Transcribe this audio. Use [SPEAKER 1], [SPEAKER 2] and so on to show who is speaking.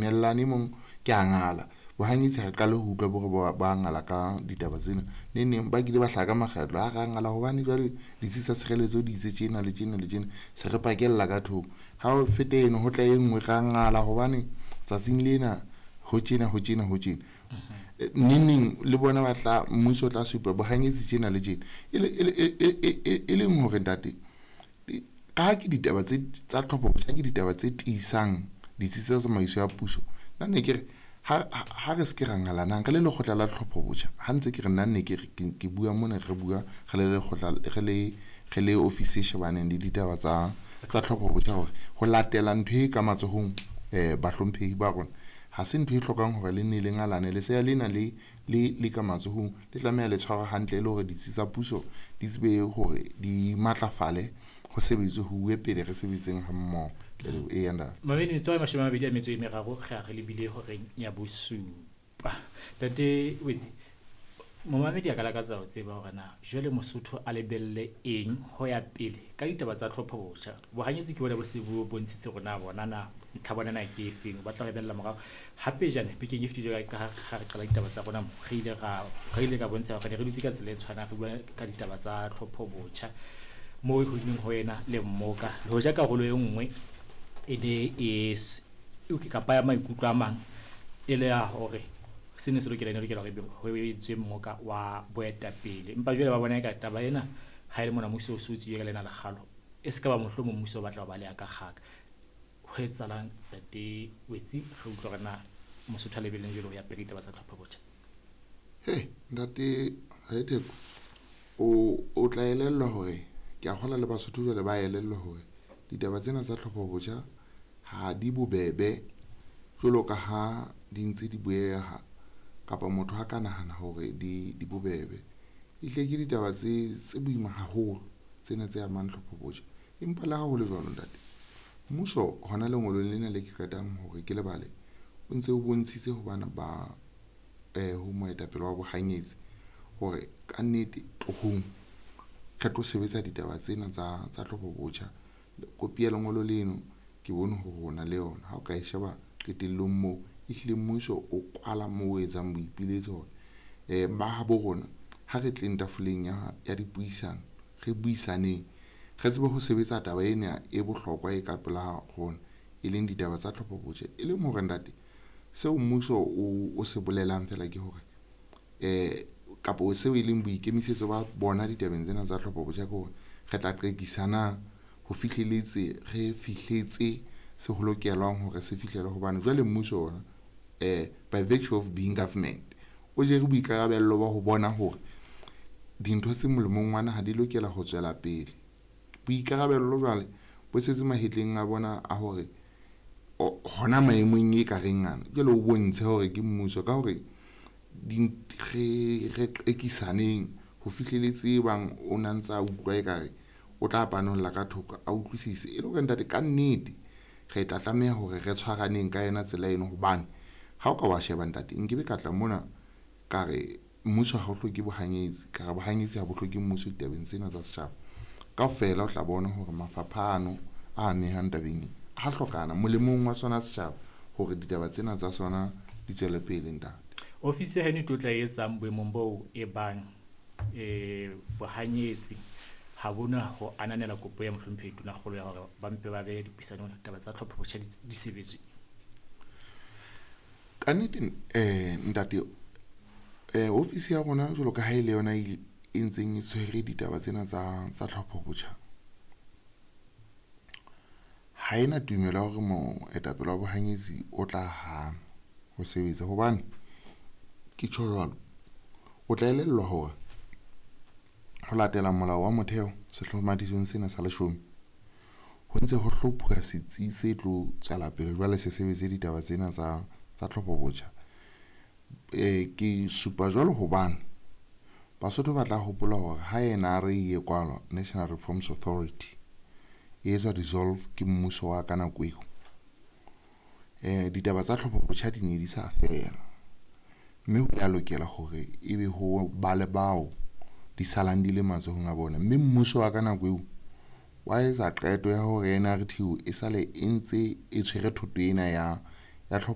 [SPEAKER 1] dumellane, e mong ke a ngala. Bohanyetsi ha re qale ho utlwa bo re ba ngala ka ditaba tsena. Neng neng ba kile ba hlaha ka makgetlo, ha ra ngala hobane jwale ditsi tsa tshireletso di itse tjena le tjena le tjena, se re pakella ka thoko. Ha o fete eno ho tla e nngwe, ra ngala hobane tsatsing lena ho tjena, ho tjena, ho tjena. Neng neng le bona ba tla, mmuso o tla supa bohanyetsi tjena le tjena. E leng hore ntate, ka ha ke ditaba tse tsa tlhopho botjha, ke ditaba tse tiisang ditsi tsa tsamaiso ya puso. Nna ne ke re ha re se ke ra ngalanang re le lekgotla la tlhopho botjha, ha ntse ke re nna ne ke re ke bua mona, re bua re le lekgotla, re le office e shebaneng le ditaba tsa tlhopho botjha, hore ho latela ntho e ka matsohong bahlomphehi ba rona, ha se ntho e hlokang hore le nne le ngalane. Lesea lena le ka matsohong le tlameha le tshwarwe hantle, e le hore ditsi tsa puso di tsebe hore di matlafale, ho sebetswe, ho uwe pele, re sebetseng ha mmoho. Eya ntate.
[SPEAKER 2] Mamedi, metso e 23 re a re lebile horeng ya 7. Ntate Wetsi, momamedi a ka lakatsa ho tseba hore na jwale Mosotho a lebelle eng ho ya pele ka ditaba tsa tlhopho botjha. Bohanyetsi ke bona bo se bo bontshitse hore na bona na ntlha bona na ke efeng, ba tla lebella morao. Hape jane bekeng e fetileng ka ha re qala ditaba tsa rona mo, re ile ra re ile ka bontsha hore ne re dutse ka tsela e tshwanang, re bua ka ditaba tsa tlhopho botjha moo ho ileng ho ena le mmoka. Le hoja karolo e nngwe e ne e kapa ya maikutlo a mang e le ya hore sene se lokela, ne lokela hore ho etswe mmoka wa boetapele. Empa jwale ba bona eka taba ena ha e le mona mmuso o so tswile ka lena lekgalo, e se ka ba mohlomong mmuso o batla ho baleha ka kgaka. Ho etsahalang ntate Wetsi, re utlwa hore na Mosotho a lebelleng jwale ho ya pele ditaba tsa tlhopho botjha?
[SPEAKER 1] He ntate Raitheko, o tla elellwa hore ke a kgolwa le Basotho jwale ba elellwa hore ditaba tsena tsa tlhopho botjha ha di bobebe jwalo ka ha di ntse di bueha, kapa motho ha ka nahana hore di bobebe. Ehlile ke ditaba tse boima haholo tsena tse amang tlhopho botjha. Empa le ha ho le jwalo ntate, mmuso hona lengolong lena le ke qetang hore ke lebale, o ntse o bontshitse ho bana ba ho moetapele wa bohanyetsi hore kannete tlohong re tlo sebetsa ditaba tsena tsa tlhopho botjha. Kopi ya lengolo leno ke bone hore o na le yona, ha o ka e sheba qetellong moo, ehlile mmuso o kwala moo o etsang boipiletso hore ba habo rona ha re tleng tafoleng ya dipuisano, re buisaneng, re tsebe ho sebetsa taba ena e bohlokwa e ka pela rona, e leng ditaba tsa tlhopho botjha. E leng hore ntate, seo mmuso o se bolelang fela ke hore kapo seo e leng boikemisetso ba bona ditabeng tsena tsa tlhopho botjha ke hore re tla qekisana ho fihleletse, re fihletse se ho lokelwang hore se fihlele, hobane jwale mmuso ona by virtue of being government o jere boikarabello ba ho bona hore dintho tse molemong wa naha di lokela ho tswela pele. Boikarabello jwale bo setse mahetleng a bona a hore hona maemong e ka reng ana jwale o bontshe hore ke mmuso ka hore re qekisaneng ho fihleletse bang o na ntsa utlwa ekare o tla panolla ka thoko a utlwisise, e le hore ntate ka nnete re tla tlameha hore re tshwaraneng ka yona tsela eno. Hobane ha o ka wa sheba ntate, nkebe ka tla mona ka re mmuso ha o hloke bohanyetsi, ka re bohanyetsi ha bo hloke mmuso ditabeng tsena tsa setjhaba. Kaofela o tla bona hore mafapha ano a amehang tabeng e ha hlokana molemong wa sona setjhaba hore ditaba tsena tsa sona di tswele pele ntate.
[SPEAKER 2] Ofisi ya heno e tlo tla etsang boemong boo e bang bohanyetsi ha bona ho ananela kopo ya mohlomphehi Tonakgolo ya hore ba mpe ba behe dipuisanong ditaba tsa tlhopho botjha di sebetswe?
[SPEAKER 1] Ka nnete ntate, ofisi ya rona jwalo ka ha e le yona e ntseng e tshwere ditaba tsena tsa tlhopho botjha, ha ena tumelo ya hore moetapele wa bohanyetsi o tla hana ho sebetsa. Hobane ke tjho jwalo, o tla elellwa hore ho latela molao wa motheo sehlomathisong sena sa 10, ho ntse ho hlophuwa setsi se tlo tswela pele jwale se sebetse ditaba tsena tsa tlhopho botjha. Ke supa jwalo hobane Basotho ba tla hopola hore ha NRA e kwalwa, National Reforms Authority e etswa dissolve ke mmuso wa ka nako eo, ditaba tsa tlhopho botjha di ne di sa fela, mme ho ya lokela hore ebe ho ba le bao di salang di le matsohong a bona. Mme mmuso wa ka nako eo wa etsa qeto ya hore NRT e sale e ntse e tshwere thoto ena ya tlhopho.